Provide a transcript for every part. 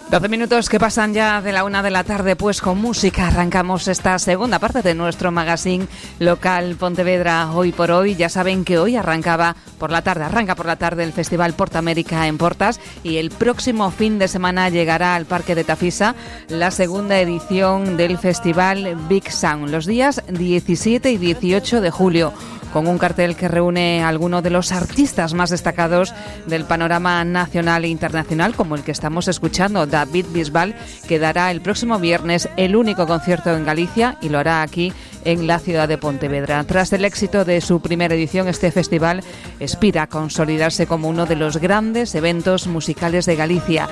12 minutos que pasan ya de la 1 de la tarde, pues con música arrancamos esta segunda parte de nuestro magazine local Pontevedra Hoy por Hoy. Ya saben que hoy arranca por la tarde el Festival Portamérica en Portas y el próximo fin de semana llegará al Parque de Tafisa la segunda edición del Festival Big Sound, los días 17 y 18 de julio. Con un cartel que reúne a algunos de los artistas más destacados del panorama nacional e internacional, como el que estamos escuchando, David Bisbal, que dará el próximo viernes el único concierto en Galicia y lo hará aquí en la ciudad de Pontevedra. Tras el éxito de su primera edición, este festival aspira a consolidarse como uno de los grandes eventos musicales de Galicia.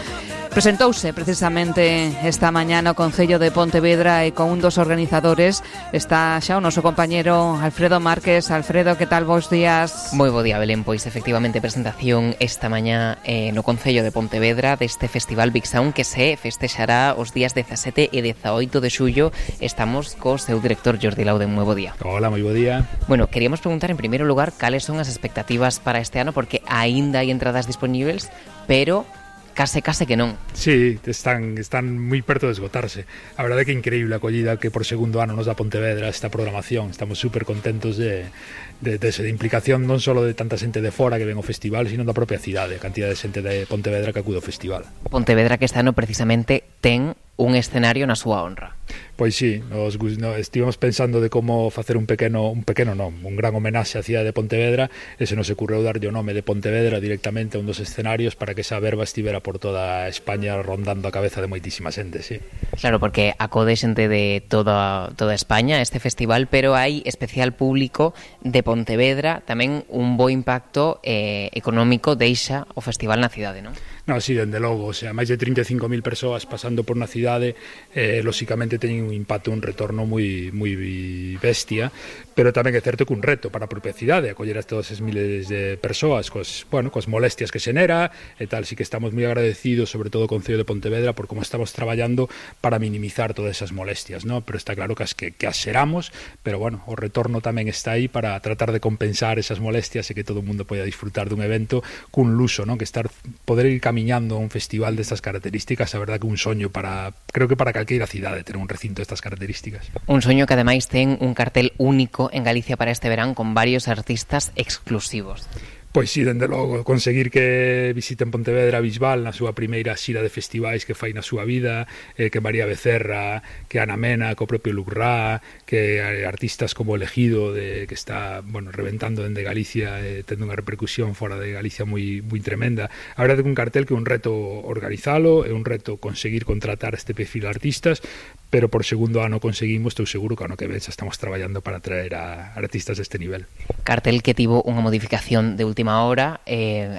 Presentouse precisamente esta mañana o Concello de Pontevedra e con un dos organizadores. Está xa o noso compañero Alfredo Márquez. Alfredo, que tal, bons días? Moi bo día, Belén. Pois efectivamente presentación esta mañá no Concello de Pontevedra deste Festival Big Sound que se festexará os días 17 e 18 de xullo. Estamos co seu director Jordi Lauden. Moi bo día. Hola, moi bo día. Bueno, queríamos preguntar en primeiro lugar cales son as expectativas para este ano, porque aínda hai entradas disponibles, pero case que non. Sí, están moi perto de esgotarse. A verdade é que é increíble a acollida que por segundo ano nos dá Pontevedra esta programación. Estamos super contentos de implicación non só de tanta xente de fora que ven o festival, sino da propia cidade, a cantidad de xente de Pontevedra que acude ao festival. Pontevedra que este ano precisamente ten un escenario na súa honra. Pois sí, estivemos pensando de como facer un gran homenaxe á cidade de Pontevedra, e se nos ocurreu darlle o nome de Pontevedra directamente a un dos escenarios para que esa verba estivera por toda España rondando a cabeza de moitísima xente, sí. Claro, porque acode xente de toda España este festival, pero hai especial público de Pontevedra, tamén un bo impacto económico deixa o festival na cidade, non? No, sí, dende logo, o sea, máis de 35.000 persoas pasando por unha cidade, lóxicamente teñen un impacto, un retorno moi bestia, pero tamén é certo que un reto para a propia cidade, acoller a todas esas miles de persoas coas molestias que xenera e tal, sí que estamos moi agradecidos, sobre todo o Concello de Pontevedra, por como estamos traballando para minimizar todas esas molestias, ¿no? Pero está claro que as xeramos, pero bueno, o retorno tamén está aí para tratar de compensar esas molestias e que todo o mundo poida disfrutar dun evento cun luso, ¿no? Que poder ir camiñando a un festival destas características, a verdade que un soño creo que para calqueira cidade ter un recinto destas características. Un soño que ademais ten un cartel único en Galicia para este verán con varios artistas exclusivos. Pois sí, dende logo, conseguir que visiten Pontevedra Bisbal na súa primeira xira de festivais que fai na súa vida, que María Becerra, que Ana Mena, co propio Luc Ra, que artistas como Elegido, que está, reventando dende Galicia, tendo unha repercusión fora de Galicia moi tremenda. A verdade é que un cartel que é un reto organizalo, é un reto conseguir contratar este perfil de artistas, pero por segundo ano conseguimos, estou seguro que ano que ven xa estamos traballando para traer a artistas deste nivel. Cartel que tivo unha modificación de última hora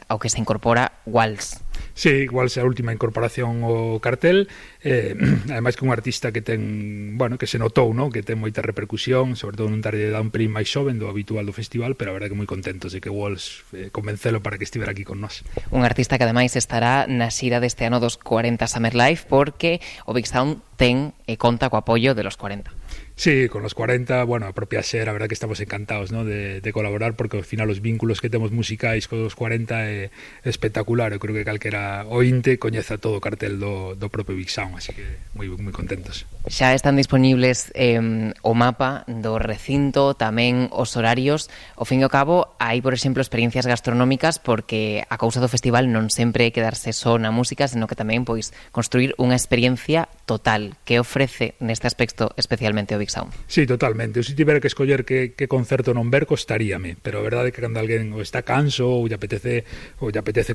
ao que se incorpora Walls. Sí, igual é a última incorporación ao cartel, ademais que un artista que ten, que se notou, ¿no? Que ten moita repercusión, sobre todo nun tarde de un pelín máis xoven do habitual do festival, pero a verdade que moi contentos de que Walls convencelo para que estivera aquí con nós. Un artista que ademais estará na xira deste ano dos 40 Summer Life, porque o Big Sound ten e conta co apoio de los 40. Sí, con los 40, a propia Xer, a verdad que estamos encantados, ¿no? de colaborar, porque ao final os vínculos que temos musicais con os 40 é espectacular. Eu creo que calquera ointe coñeza todo o cartel do propio Big Sound, así que moi contentos. Xa están disponibles o mapa do recinto, tamén os horarios. Ao fin e ao cabo, hai, por exemplo, experiencias gastronómicas, porque a cousa do festival non sempre é quedarse só na música, senón que tamén construir unha experiencia total que ofrece neste aspecto especialmente o Big Sound. Sí, totalmente. Eu se tivera que escoller que concerto non ver, costaríame, pero a verdade é que cando alguén está canso ou lle apetece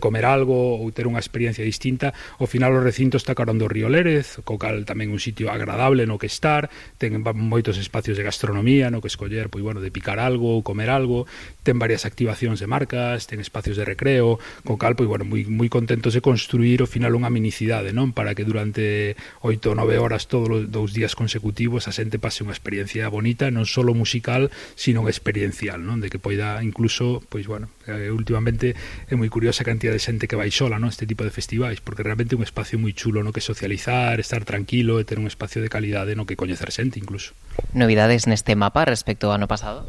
comer algo ou ter unha experiencia distinta, ao final o recinto está carón do Río Lérez, co cal tamén un sitio agradable no que estar, ten moitos espacios de gastronomía no que escoller, de picar algo ou comer algo, ten varias activacións de marcas, ten espacios de recreo, co cal, moi contentos de construir ao final unha minicidade, non? Para que durante 8 ou 9 horas todos os 2 días consecutivos a xente pase unha experiencia bonita, non só musical, sino experiencial, non? De que poida incluso, últimamente é moi curiosa a cantidad de xente que vai sola, non? Este tipo de festivais, porque realmente é un espacio moi chulo no que socializar, estar tranquilo e ter un espacio de calidade no que coñecer xente incluso. Novidades neste mapa respecto ao ano pasado?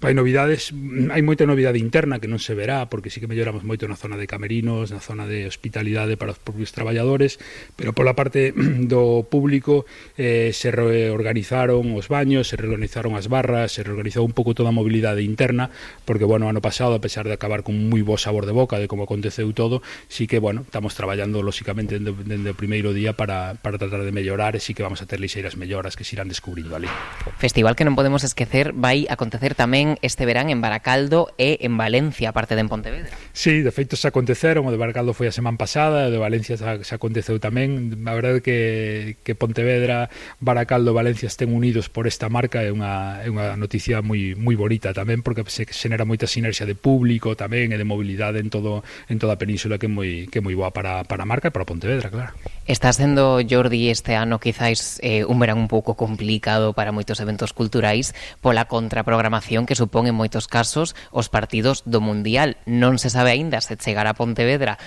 Hai novidades, hai moita novidade interna que non se verá, porque sí que melloramos moito na zona de camerinos, na zona de hospitalidade para os propios traballadores, pero pola parte do público se reorganizaron os baños, se reorganizaron as barras, se reorganizou un pouco toda a mobilidade interna, porque, bueno, ano pasado, a pesar de acabar con moi bo sabor de boca de como aconteceu todo, sí que, bueno, estamos traballando, lóxicamente, dende o primeiro día para tratar de mellorar, e sí que vamos a ter lixeiras melloras que se irán descubrindo ali. Festival que non podemos esquecer vai acontecer tamén este verán en Baracaldo e en Valencia, aparte de en Pontevedra. Sí, de feito se aconteceron, o de Baracaldo foi a semana pasada, o de Valencia se aconteceu tamén. A verdade que Pontevedra, Baracaldo e Valencia estén unidos por esta marca é unha noticia moi bonita tamén, porque se xenera moita sinerxia de público tamén e de mobilidade en toda a península que é moi boa para a marca e para Pontevedra, claro. Está sendo, Jordi, este ano quizáis un verán un pouco complicado para moitos eventos culturais pola contraprogramación que supón en moitos casos os partidos do Mundial. Non se sabe aínda se chegará a Pontevedra,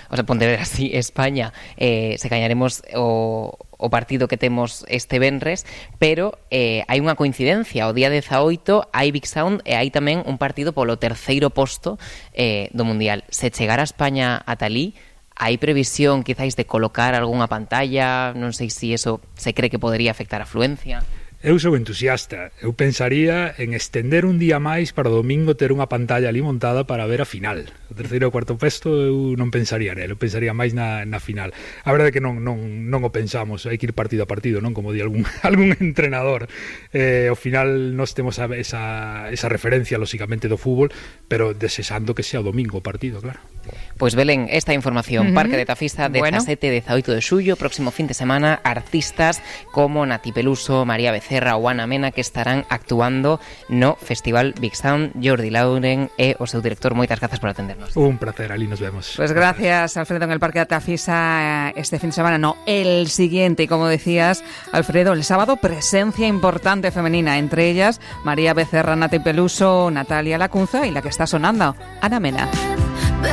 sí, España, se gañaremos o partido que temos este venres, pero hai unha coincidencia, o día 18 hai Big Sound e hai tamén un partido polo terceiro posto do Mundial. Se chegara a España a talí, hai previsión quizáis de colocar algunha pantalla, non sei se eso se cree que podería afectar a afluencia. Eu sou entusiasta. Eu pensaría en estender un día máis para o domingo ter unha pantalla ali montada para ver a final. O terceiro e o cuarto puesto eu non pensaría nel, eu pensaría máis na final. A verdade é que non o pensamos, hai que ir partido a partido, non como di algún entrenador. Ao final nós temos esa referencia, lóxicamente, do fútbol, pero desexando que sea o domingo o partido, claro. Pois Belén, esta información, Parque de Tafisa, 17 e 18 de xullo, próximo fin de semana, artistas como Nati Peluso, María Becerra ou Ana Mena que estarán actuando no Festival Big Sound. Jordi Lauren e o seu director, moitas grazas por atendernos. Un placer, ali nos vemos. Pues gracias, Alfredo, en el Parque de Tafisa este fin de semana, no, el siguiente, y como decías, Alfredo, el sábado presencia importante femenina, entre ellas María Becerra, Nati Peluso, Natalia Lacunza y la que está sonando, Ana Mena.